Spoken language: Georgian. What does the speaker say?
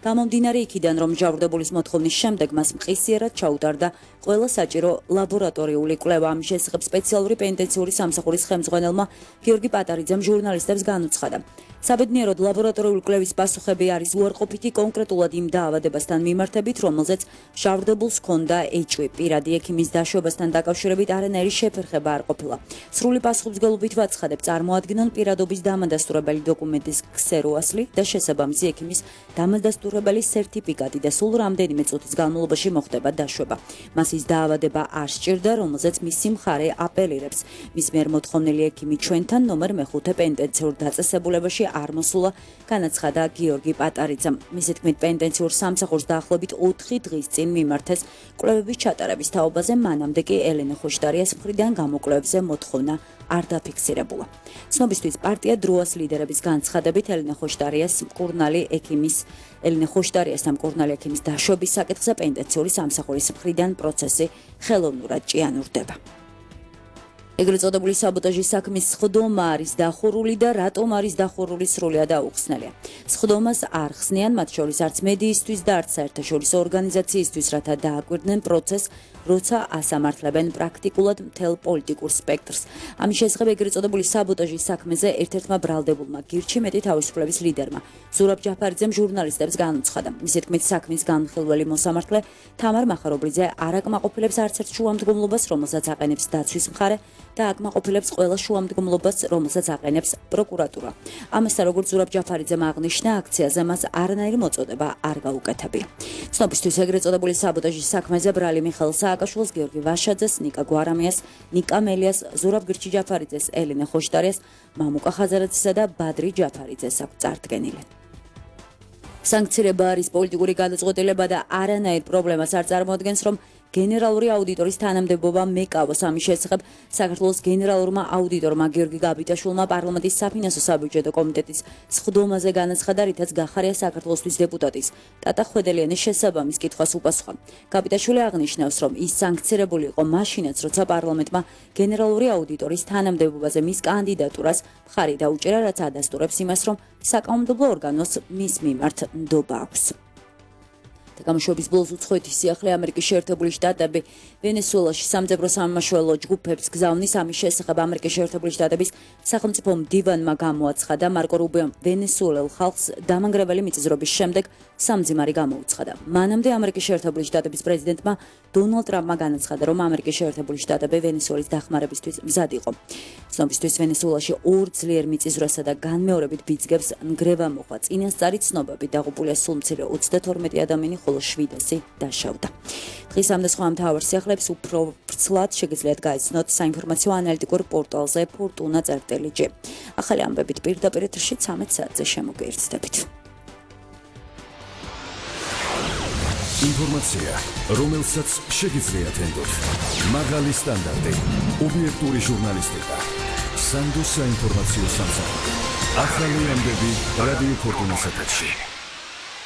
გამომდინარე იქიდან, რომ მჟავრდებულის მოთხოვნის შემდეგ მას მყისიერად ჩაუტარდა ყველა საჭირო ლაბორატორიული კვლევა. Ამ შესახებ სპეციალური პენიტენციური სამსახურის ხელმძღვანელმა გიორგი პატარიძემ ჟურნალისტებს განუცხადა. საბედნიეროდ ლაბორატორიული კვლევის პასუხები არის უარყოფითი კონკრეტულად იმ დაავადებასთან მიმართებით, რომელზეც მჟავრდებულს ჰქონდა HIV. პირადი ექიმის დაშვებასთან დაკავშირებით არანაირი შეფერხება არ ყოფილა. სრული პასუხისმგებლობით ვაცხადებ, წარმოადგინონ პირადობის დამადასტურებელი დოკუმენტის ქსეროასლი და შესაბამისი ექიმის დამადასტურებელი სერტიფიკატი და სულ რამდენიმე წუთის განმავლობაში მოხდება დაშვება. მას ის დაავადება არ სჭირდა, რომელზეც მისი მხარე აპელირებს. მის მიერ მოთხოვნილი ექიმი ჩვენთან ნომერ მე-5 პენიტენციურ დაწესებულებაში არ მოსულა, განაცხადა გიორგი პატარიძემ. მისი თქმით, პენიტენციურ სამსახურს დაახლოებით 4 დღის წინ მიმართეს კვლევების ჩატარების თაობაზე, მანამდე კი ელენე ხოშტარიას მხრიდან გამოკვლევებზე მოთხოვნა არ დაფიქსირებულა. ცნობისთვის პარტია დროას ლიდერების განცხადებით ელენე ხოშტარიასთან მკურნალი ექიმის დაშვების საკითხზე პენიტენციური სამსახურის მხრიდან პროცესი ხელოვნურად ჭიანურდება. ეგრეთ წოდებული საბოტაჟის საქმის სხდომა არის დახურული და რატომ არის დახურული სრულად აუხსნელია. სხდომას არ ხსნიან მათ შორის არც მედიისთვის და არც საერთაშორისო ორგანიზაციისთვის, რათა დააკვირდნენ პროცესს, როცა ასამართლებენ პრაქტიკულად მთელ პოლიტიკურ სპექტრს. ამის შესახებ ეგრეთ წოდებული საბოტაჟის საქმეზე ერთ-ერთმა ბრალდებულმა გირჩი მეტი თავისუფლების ლიდერმა ზურაბ ჯაფარიძემ ჟურნალისტებს განუცხადა. მისი თქმით, საქმის განხილველი მოსამართლე თამარ მახარობლიძე არ აკმაყოფილებს არც ერთ შუამდგომლობას, რომელსაც აყენებს დაცვის მხარე და აკმაყოფილებს ყველა შუამდგომლობას, რომელსაც აყენებს პროკურატურა. ამასთან, როგორც ზურაბ ჯაფარიძემ აღნიშნა, აქციაზე მას არანაირი მოწოდება არ გაუკეთებია. ცნობისთვის ეგრეთ წოდებული საბოტაჟის საქმეზე ბრალი მიხეილ სააკაშვილს, გიორგი ვაშაძეს, ნიკა გვარამიას, ნიკა მელიას, ზურაბ გირჩი ჯაფარიძეს, ელენე ხოშტარიას, მამუკა ხაზარაძესა და ბადრი ჯაფარიძეს აქვს წარდგენილი. სანქცირება არის პოლიტიკური გადაწყვეტილება და არანაირ პრობლემას არ წარმოადგენს, რომ გენერალური აუდიტორის თანამდებობა მეკავოს. ამის შესახებ საქართველოს გენერალურმა აუდიტორმა გიორგი გაბიტაშვილმა პარლამენტის საფინანსო საბიუჯეტო კომიტეტის სხდომაზე განაცხადა, რითაც გახარია საქართველოსთვის დეპუტატის ტატა ხვედელიანის შესაბამის კითხვას უპასუხა. გაბიტაშვილი აღნიშნავს, რომ ის სანქცირებული იყო მაშინაც, როცა პარლამენტმა გენერალური აუდიტორის თანამდებობაზე მის კანდიდატურას მხარი დაუჭერა, რაც ადასტურებს იმას, რომ საკანონმდებლო ორგანოს მის მიმართ ნდობა აქვს. გამოშვების ბოლოს უცხოეთის სიახლე ამერიკის შეერთებული შტატები ვენესუელაში სამძებრო სამმართველო ჯგუფებს გზავნის. ამის შესახებ ამერიკის შეერთებული შტატების სახელმწიფო მდივანმა გამოაცხადა. მარკო რუბიომ ვენესუელელ ხალხს დამანგრეველი მიწისძვრების შემდეგ სამძიმარი გამოუცხადა. მანამდე ამერიკის შეერთებული შტატების პრეზიდენტმა დონალდ ტრამპმა განაცხადა, რომ ამერიკის შეერთებული შტატები ვენესუელის დახმარებისთვის მზად იყო. ცნობისთვის ვენესუელაში 2 ძლიერ მიწისძვრასა და განმეორებით ბიძგებს ნგრევა მოხდა. წინასწარი ცნობებით დაღუპულია სულ მცირე 32 ადამიანი, ხოლო 700 დაშავდა. დღის ამ და სხვა მთავარ სიახლეებს უფრო ვრცლად შეგიძლიათ გაიცნოთ საინფორმაციო ანალიტიკურ პორტალზე fortuna.gr. ახალი ამბებით პირდაპირ ეთერში 13 საათზე შემოგეერთდებით. ინფორმაცია, რომელსაც შეგიძლიათ ენდოთ. მაღალი სტანდარტი, ობიექტური ჟურნალისტიკა. სანდო საინფორმაციო სამსახური. ახალი ამბები რადიო ფორტუნას ეთერში.